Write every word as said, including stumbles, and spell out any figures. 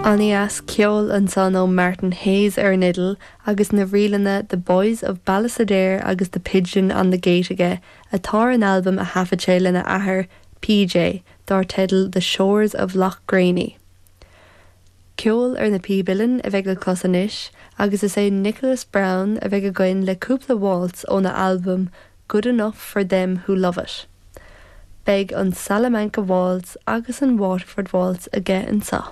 An-dheas ceol ansan ó Martin Hayes ar an fhidil agus na ríleanna The Boys of Ballisodare agus The Pigeon on the Gate aige atá ar an albam a thaifead sé lena athair PJ dar teideal The Shores of Loch Graney. Ceol ar na píob uilleann a bheidh le clos anois agus is é Nicholas Brown a bheidh againn le cúpla waltz óna albam Good Enough for Them Who Love It. Beidh an Salamanca Waltz agus an Waterford Waltz aige anseo.